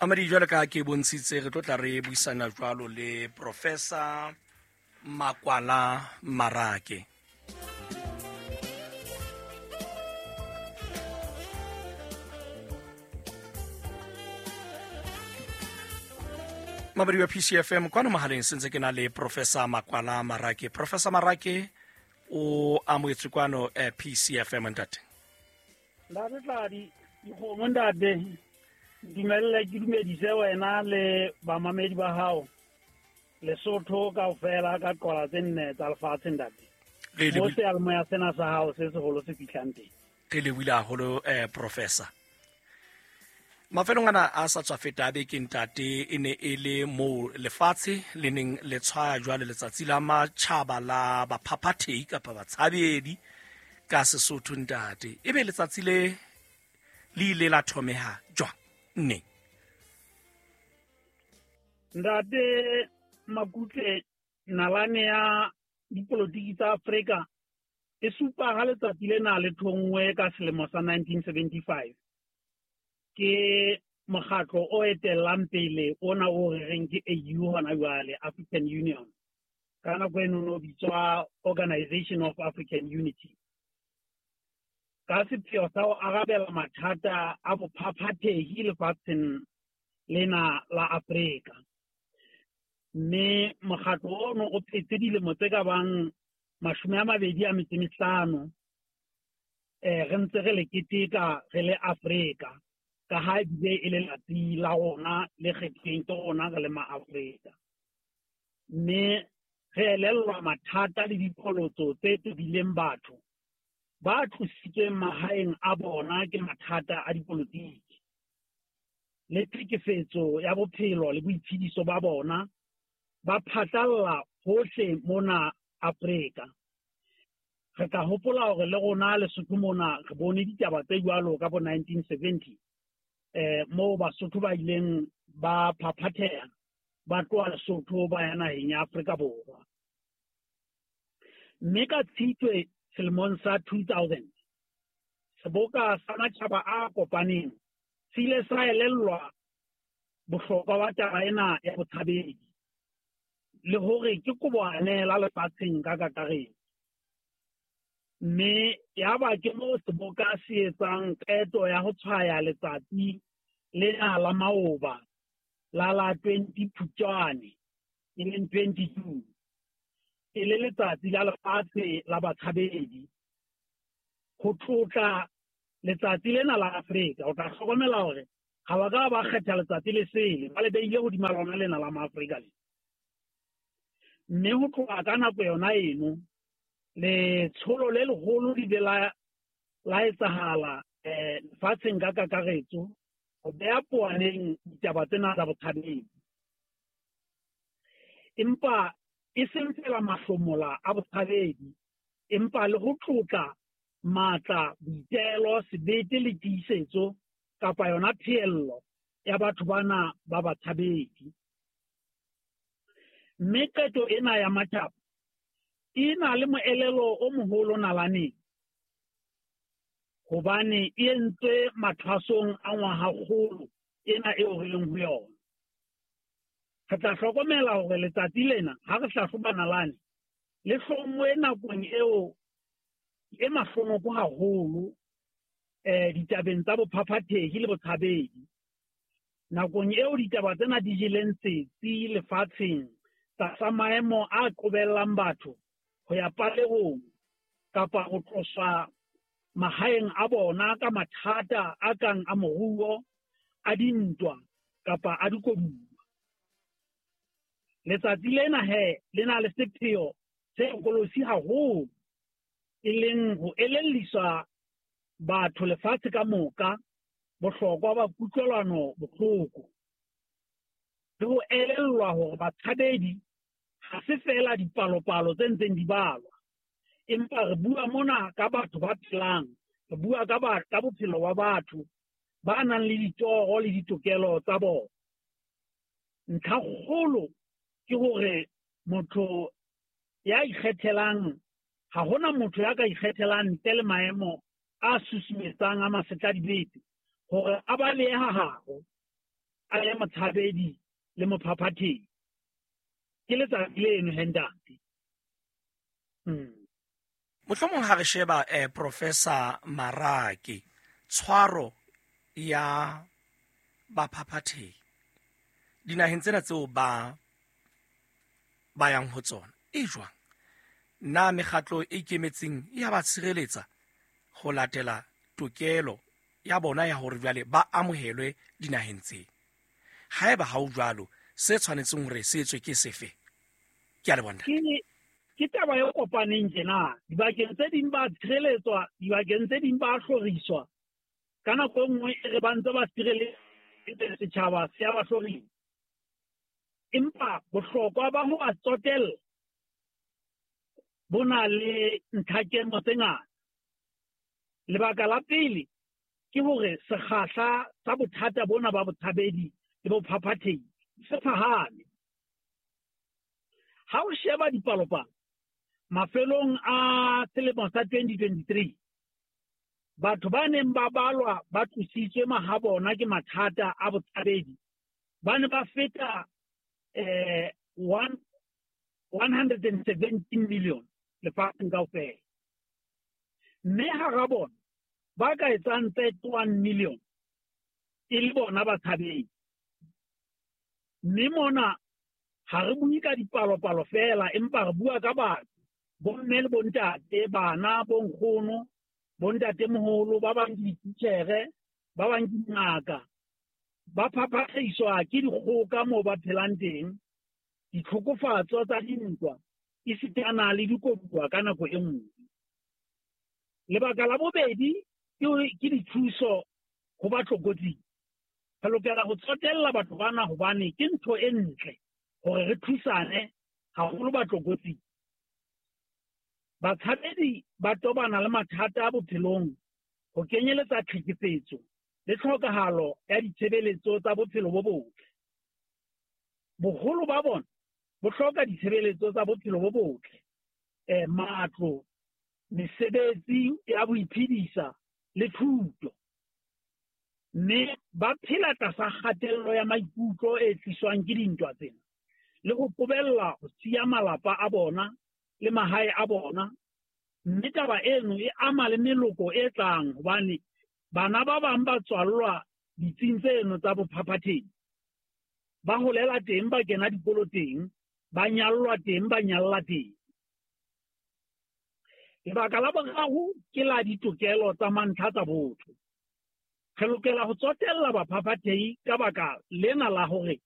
Amadi, jwalo ka ke bontshitse, re tlo tla re buisana jwalo le Professor Makwala Marake. Mabadi wa PCFM kwano mohaleng sentse ke na le Professor Makwala Marake. Professor Marake, o amoetswe kwano PCFM, ntate. Ntate Tladi, dikgomo ntate, dumelle ke dumedise wena le bamamedi ba hao Lesotho kaofela ka qola tse nne tsa lefatshe, ntate. Mo seyalemoya sena sa hao se seholo se fihlang teng. Re lebohile haholo, Professor. Mafelong ana a sa tswa feta a beke, ntate, e ne e le moo lefatshe le neng le tshwaya jwale letsatsi la matjhaba la baphaphathehi kapa batshabedi ka Sesotho, ntate. Ebe letsatsi le le ile la thomeha jwang neng? Ntate Makutle, nalane ya dipolotiki tsa Afrika e supa ha letsatsi lena le thonngwe ka selemo sa 1975 ke mokgatlo o etellang pele ona o re reng ke AU hona jwale, African Union. Ka nako eno no bitswa Organization of African Unity, ka sepheo sa ho arabela mathata a bophaphathehi lefatsheng lena la Afrika. Mme mokgatlo ono o phetse dilemo tse ka bang 25 re ntse re le keteka re le Afrika, ka ha ebile e le letsatsi la rona le kgethilweng ke rona re le ma-Afrika. Mme re elellwa mathata le diqholotso tse tobileng batho ba tlositsweng mahaeng a bona ke mathata a dipolotiki le tlhekefetso ya bophelo le boitshediso ba bona ba phatlalla hohle mona Afrika. Re tla hopola hore le rona Lesotho mona re bone ditaba tse jwalo ka bo 1970, moo Basotho ba ileng ba phaphatheha ba tloha Lesotho ba ya naheng ya Afrika Borwa. Mme ka Tshitwe selemong sa 2000, seboka sa matjhaba a kopaneng se ile sa elellwa bohlokwa ba taba ena ya botshabedi le hore ke koboanela lefatsheng ka kakaretso. Mme yaba ke moo seboka se etsang qeto ya ho tshwaya letsatsi lena la maoba la la 20 Phupjane, e leng 20 June, e le letsatsi la lefatshe la batshabedi, ho tlotla letsatsi lena la Afrika. O tla hlokomela hore ha ba ka ba kgetha letsatsi le sele, ba le beile hodima lona lena la maAfrika le. Mme ho tloha ka nako yona eno, letsholo le leholo le ile la etsahala lefatsheng ka kakaretso ho beha poaneng ditaba tsena tsa botshabedi. Empa e seng fela mahlomola a botshabedi, empa le ho tlotla matla, boitelo, sebete le tiisetso kapa yona pheello ya batho bana ba batshabedi. Mme qeto ena ya matjhaba e na le moelelo o moholo nalaneng, hobane e entswe mathwasong a ngwahakgolo ena eo re leng ho yona. Re tla hlokomela hore letsatsi lena ha re hlahloba nalane le hlonngwe nakong eo e mahlonoko haholo ditabeng tsa bophaphathehi le botshabedi. Nakong eo ditaba tsena di jeleng setsi lefatsheng tlasa maemo a qobellang batho ho ya palehong kapa ho tloswa mahaeng a bona ka mathata a kang a moruo, a dintwa kapa a dikoduwa. Letsatsi lena he le na le sepheo se hlokolosi haholo, e leng ho elelliswa batho lefatshe ka moka bohlokwa ba kutlwelano bohloko, le ho elellwa hore batshabedi ha se feela dipalopalo tse ntseng di balwa, empa re bua mona ka batho ba phelang, re bua ka bophelo ba batho ba nang le ditoro le ditokelo tsa bona. Ntlha kgolo ke hore motho ya ikgethelang, ha hona motho ya ka ikgethelang ntle le maemo a susumetsang a masetladibete hore a balehe ha habo, a le motshabedi le mophaphathehi. Ke letsatsi leno he ntate. Mohlomong ha re sheba Professor Marake, tshwaro ya baphaphathehi dinaheng tsena tseo ba yang ho tsona e jwang? Na mekgatlo e ikemetseng ya ba tshireletsa ho latela tokelo ya bona ya hore jwale ba amohelwe dinaheng tse? Haeba ha o jwalo, se tshwanetseng hore se etswe ke sefe? Ke a leboha ntate. Ke taba e kopaneng tjena. Dibakeng tse ding ba tshireletswa, dibakeng tse ding ba hloriswa. Ka nako e nngwe e re ba ntse ba sireletse setjhaba se a ba hlorisa. Empa bohlokwa ba ho ba tsotella bo na le ntlhakemo tse ngata. Lebaka la pele ke hore sekgahla sa bothata bona ba botshabedi le bophaphathehi se phahame. Ha o sheba dipalopalo, mafelong a selemo sa 2023, batho ba neng ba balwa ba tlositswe mahabona ke mathata a botshabedi ba ne ba feta 117 million lefatsheng kaofela. Mme hara bona ba ka etsang 31 million e le bona batshabedi. Mme mona ha re bue ka dipalopalo feela, empa re bua ka batho, bomme le bontate, bana, bonkgono, bontatemoholo, ba bang ke dititjhere, ba bang ke dingaka. Ba phaphathehiswa ke dikgoka moo ba phelang teng, ditlhokofatso tsa dintwa, esitana le dikoduwa ka nako e nngwe. Lebaka la bobedi ke dithuso ho ba tlokotsing. Re lokela ho tsotella batho bana hobane ke ntho e ntle hore re thusane haholo ba tlokotsing. Batshabedi ba tobana le mathata a bophelong ho kenyeletsa tlhekefetso le tlhokahalo ya ditshebeletso tsa bophelo bo botle. Boholo ba bona bo hloka ditshebeletso tsa bophelo bo botle, matlo, mesebetsi ya boiphedisa le thuto. Mme ba phela tlasa kgatello ya maikutlo e tliswang ke dintwa tsena le ho qobella ho siya malapa a bona le mahae a bona. Mme taba eno e ama le meloko e tlang hobane bana ba bang ba tswallwa ditsing tseno tsa bophaphathehi. Ba holela teng, ba kena dikolo teng, ba nyallwa teng, ba nyalla teng. Lebaka la boraro ke la ditokelo tsa mantlha tsa botho. Re lokela ho tsotella baphaphathehi ka baka lena la hore